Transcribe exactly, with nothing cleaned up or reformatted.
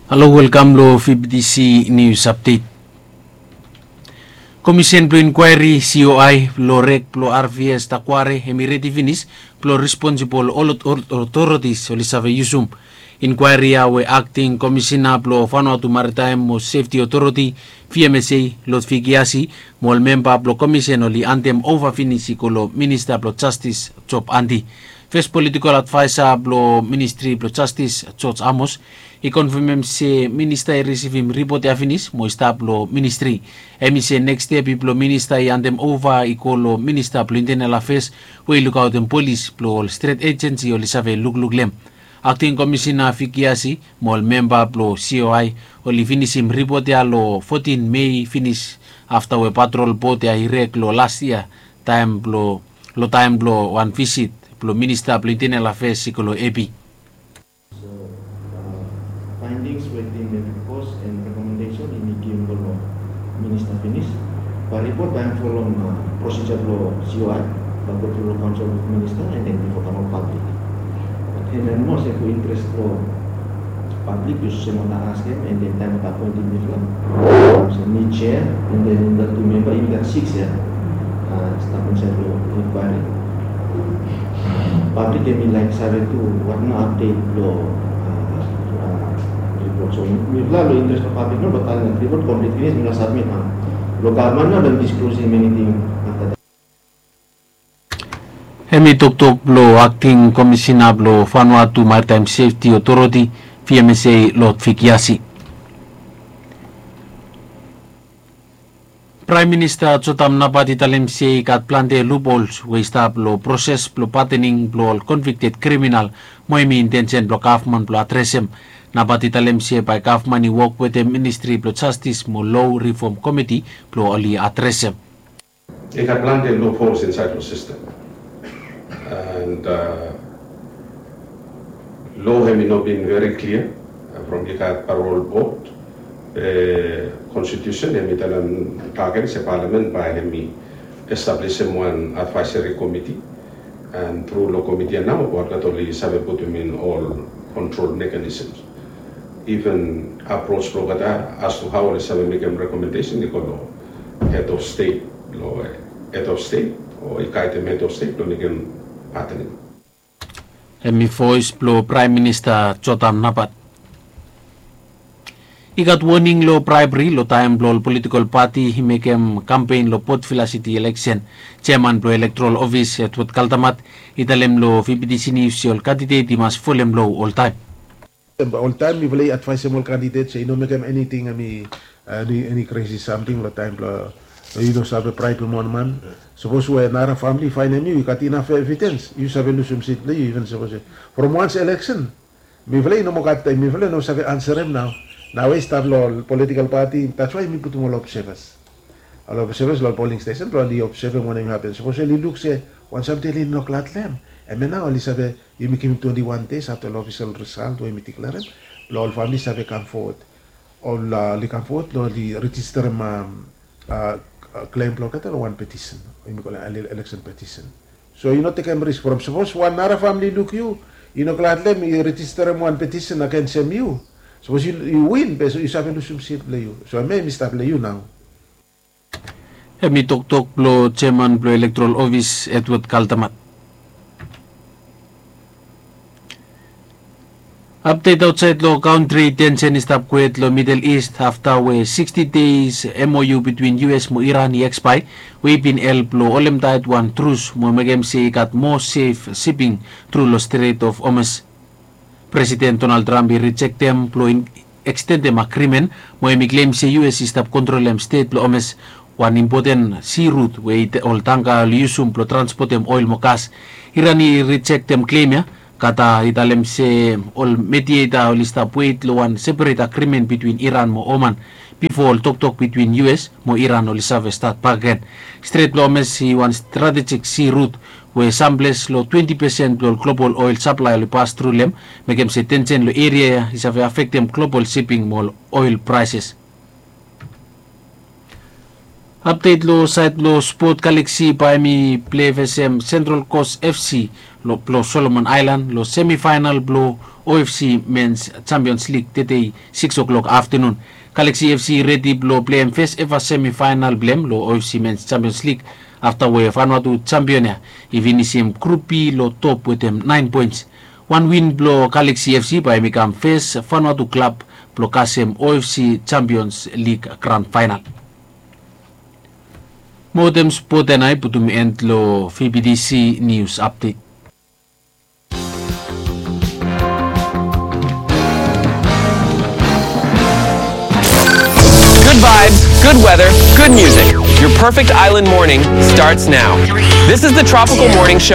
Halo, welkam lo V B T C News Update. Komisen blo inkwaeri, C O I, lo rek blo R V S Takware hemi redi finis blo responsibol ol otoritis oli save yusum. Inkwaeri ya we akting komisina blo Vanuatu Maritime mo Sefti Otoriti, V M S A, Lotfi Kiasi, mo ol memba blo komisen oli handem ova finis i go lo Minista blo Jastis, Job Andy. Fes politikol advaesa blo Ministri blo Jastis, George Amos, i konfamem se minista i risivim ripot ya finis mo i stap lo ministri. Hemi se neks step i blo minista i handem ova i go lo Minista blo Intenal Afeas we i lukaotem polis blo ol stret ejensi oli save lukluk lo hem. Akting Komisina Vicky Asi mo ol memba blo C O I oli finisim ripot ya lo fotin Mei finis afta we patrol bot ya i rek lo las yia taem blo lo taem blo wan visit blo Minista blo Intenal Afeas i go lo Epi. So, uh, findings, waiting the report and recommendation i mekim blo minista finis. Bae ripot bae follow, uh, procedure blo C O I, bae go through lo council with minister and then before come out public. But hemia nomo se fu interest blo public, yu se mata askem, and then taem mata appointim mifala. Olsem mi chair, and then the two member, i gat six ya. Uh, stap insaed lo inquiry. Public hemi laek save tu what nao update lo, uh, uh, report. So mifala lo interest blo public nao, bae taem report complete finis mifala submit nao. Lo gavman nao dem disclosem anything after that. Hemi toktok blo akting komisina blo Vanuatu Maritime Safety Authority, V M S A, Lotfi Kiasi. Praem Minista Jotam Napat i talem se i gat plante loopholes we i stap lo proses blo padening blo ol convicted kriminal, mo hemi intensen blo gavman blo adresem. Napat i talem se bae gavman i wok wetem Ministri blo Jastis mo Lo Rifom Komiti blo oli adresem. I gat plante loopholes insaed lo sistem. And, uh, lo hemi no bin veri klia, uh, from i gat parol bot, uh, konstitusen hemi talem tagen se palamen bae hemi establisim wan advaeseri komiti, and tru lo komiti ya nao bae olgeta oli save putum in ol kontrol mechanisms. Even approach blo olgeta as to hao oli save mekem rekomendesen i go lo head of state, lo, eh, head of state, o i gaedem head of state lo mekem padening. Hemi voes blo Praem Minista Jotam Napat. I gat woning lo braebri lo taem blo ol politikol pati i mekem kampen lo Port Vila City eleksen. Jeaman blo Elektoral Ofis, Edward Kaltamat, i talem lo V B T C News se ol kandidet i mas folem lo oltaem. Oltaem mifala i advaesem ol kandidet se i no mekem eniting, eni, eni kresi samting lo taem blo yu no save braebem wan man. Sapos we nara famili i faenem yu, yu gat inaf evidens, yu save lusum sit blo yu, iven sapos from once eleksen. Mifala i no moa gat, mifala i no save ansarem nao. Nao i stap lo ol politikol pati, that's why mi putum ol observers. Ol observers lo ol polling stesen blo oli obsevem wanem i hapen. Sapos oli luk se wan samting oli no glad lo hem, hemia nao oli save, yumi givim twenti wan deis afta lo ofisol risalt we yumi diklerem, blo ol famili save kam fowod. Ol, uh, oli kam fowod blo oli rejisterem, um, uh, klem blo olgeta lo wan petisen, yumi kolem ele-, eleksen petisen. So yu no tekem risk from sapos wan nara famili i luk yu, i no glad lo hem, i rejisterem wan petisen agensem yu. Sapos yu, yu win, be yu save lusum sit blo yu. So hemia i stap lo yu nao. Hemi toktok blo jeaman blo Elektoral Ofis, Edward Kaltamat. Apdet aotsaed lo kantri, tensen i stap kwet lo Middle East afta we sixty deis M O U bitwin U S mo Iran i ekspaea, we i bin help lo holemtaet wan trus mo mekem se i gat moa sef siping tru lo Strait of Hormuz. Presiden Donald Trump i rijektem blo ekstendem agrimen, mo hemi klem se U S i stap kontrolem Strait blo Hormuz, wan impoten si rut we ol tangka oli yusum blo transpotem oel mo gas. Iran i rijektem klem ya. Qatar i talem se ol medieta oli stap wet lo wan seperet agrimen bitwin Iran mo Oman bifo ol toktok bitwin U S mo Iran oli save stat bakegen. Stret blo Hormuz i wan stratejik si rut we samples lo twenti pesen blo ol global oel saplae oli pas tru lo hem, mekem se tensen lo eria ya i save afektem global siping mo ol oel praeses. Apdet lo saed blo spot, Galaxy bae hemi plei vesem Central Coast F C lo, blo Solomon Aelan lo semifaenal blo O F C Men's Champions League tedei, six o'clock aftenun. Galaxy F C i redi blong pleim fes eva semifaenal blong hem long O F C Men's Champions League afta we Vanuatu Champion ya i finisim Grup B long top wetem naen poens. Wan win blong Galaxy F C bae hem i kam fes Vanuatu klab blong kasem O F C Champions League gran faenal. Mo wetem spot ya nao i putum en long V B T C nius apdet. Good vibes, good weather, good music. Your perfect island morning starts now. This is the Tropical Morning Show.